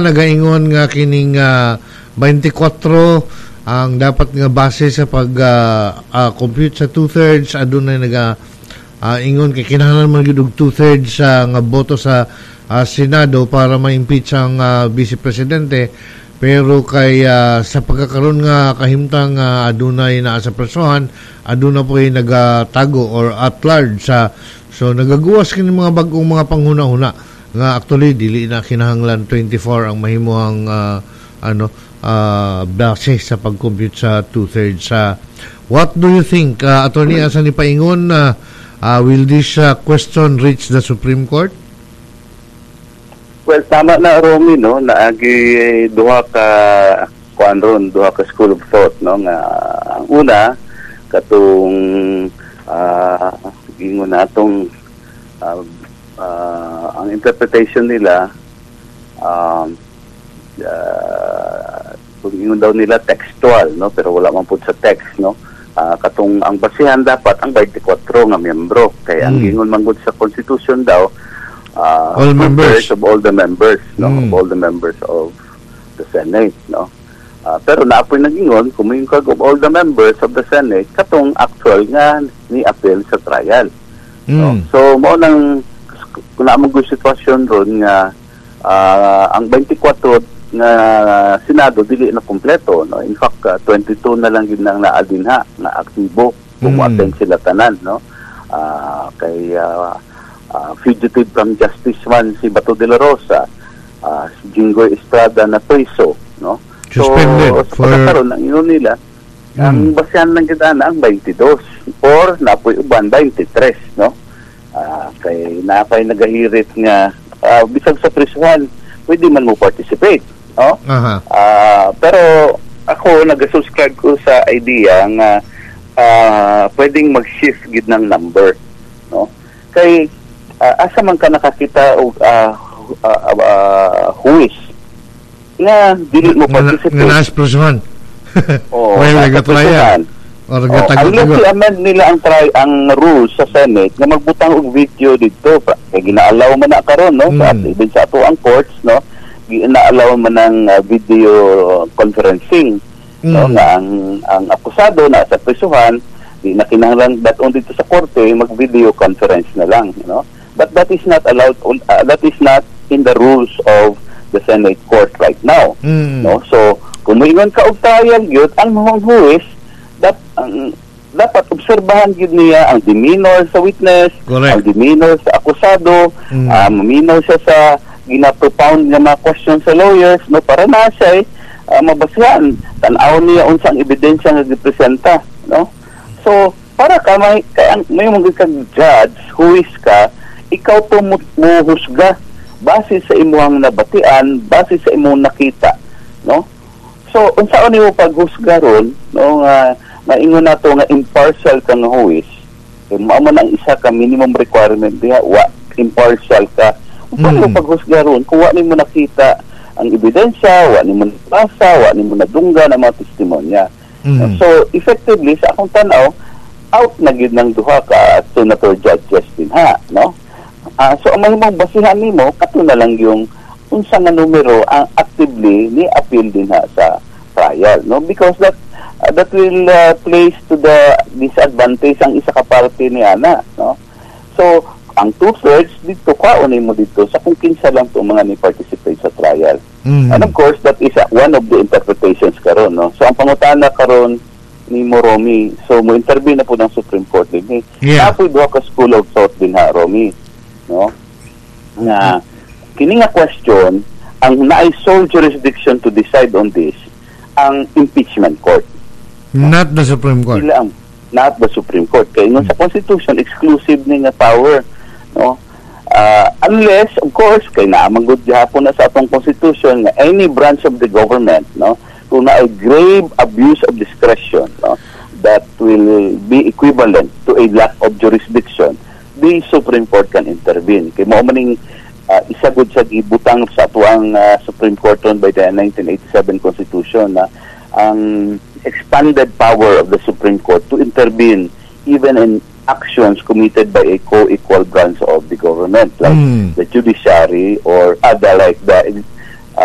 nagaingon nga kining 24 ang dapat nga base sa pag compute sa two-thirds. Adunay naga ingon kay kinahanglan man gyud og two-thirds sa nga boto sa Senado para ma-impeach ang vice presidente, pero kay sa pagkakaroon nga kahimtang adunay naa sa presohan, aduna po ay nagatago or at large sa, so nagagawas kini mga bag-ong mga panghuna-huna nga actually dili na kinahanglan 24 ang mahimuhang ano base sa pag-compute sa two-thirds. Sa what do you think, Attorney, asa ni paingon? Will this question reach the Supreme Court? Well, tama na, Romy, no, naagi duha ka kuan ron, duha ka school of thought, no, nga ang una katong ingon natong ang interpretation nila, kung ingon daw nila textual, no, pero wala man pud sa text, no, katong ang basihan dapat ang 24 nga miyembro kay ang ingon man gud sa constitution daw all members. Two-thirds of all the members, no, of all the members of the Senate, no. Pero naapoy nag-ingon, kung moingon kag of all the members of the Senate, katong actual nga ni appeal sa trial. No? So mao nang kung naa man gud sitwasyon ron nga ang 24 nga Senado dili na kumpleto, no. In fact, 22 na lang gid nang naa dinha nga aktibo kung mo-attend sila tanan, no. Kay fugitive from justice man si Bato de la Rosa, si Jinggoy Estrada na preso, no. Suspended So, sa pagkakaroon ang ingon nila, ang basehan lang kita na ang 22 or napoy uban 23, no. Kay napay nagahirit nga bisag sa prisuhan pwede man mo participate, no. Pero ako nag-subscribe ko sa idea nga pwedeng mag-shift gid ng number, no, kay asa man ka nakakita og huwis nga dili mo participate nga naas presohan Oo, while nasa nagatrial prisuhan. Or Oh, nagatago-tago. unless i-amend nila ang rules sa Senate nga magbutang og video dito kay gina-allow man na karon, no, sa even sa ato ang courts, no, gina-allow man ang video conferencing, no, nga ang akusado na sa prisuhan di na kinahanglan dat-on dito sa korte, mag video conference na lang, no. But that is not allowed, that is not in the rules of the Senate court right now, no. So kung moingon ka og trial gyud, ang mga huwes dapat obserbahan gyud niya ang demeanor sa witness, ang demeanor sa akusado, maminaw siya sa gina-propound nga mga questions sa lawyers, no, para na siya mabasihan, tan-aw niya unsa ang ebidensya nga gipresenta, no. So para ka may kay ang may mga kag judge, huwes ka, ikaw to muhusga base sa imuhang nabatian, base sa imong nakita, no. So unsaon nimo paghusga ron, no, nga maingon nato nga impartial ka nga huwes? Kay mao man ang isa ka minimum requirement diha, wa impartial ka. Unsa nimo paghusga ron kung wa nimo nakita ang ebidensya, wa nimo nabasa, wa nimo nadunggan ang mga testimonya? So effectively, sa akong tan-aw, out na gyud ng duha ka senator judges din ha, no. So ang mahimong basihan nimo kato na lang yung unsa nga numero ang actively ni appeal din ha sa trial, no, because that will place to the disadvantage ang isa ka parte ni ana, no. So ang two-thirds dito, kwaon mo dito sa kung kinsa lang to mga ni participate sa trial. And of course, that is one of the interpretations karon, no. So ang pangutana karon ni Romy, so mo intervene na po ng Supreme Court din eh. Napoy duha ka school of thought din ha, Romy, no, nga kini nga question, ang naay sole jurisdiction to decide on this ang impeachment court. Not the Supreme Court. Sila ang, not the Supreme Court, kay ingon sa Constitution exclusive ni nga power, no. Unless of course kay naa man gud gihapon na sa atong constitution nga any branch of the government, no, kung naay grave abuse of discretion, no, that will be equivalent to a lack of jurisdiction, the Supreme Court can intervene, kay mao maning isa gud sa gibutang sa atuang Supreme Court ron by the 1987 Constitution na ang expanded power of the Supreme Court to intervene even in actions committed by a co-equal branch of the government like the judiciary or other like the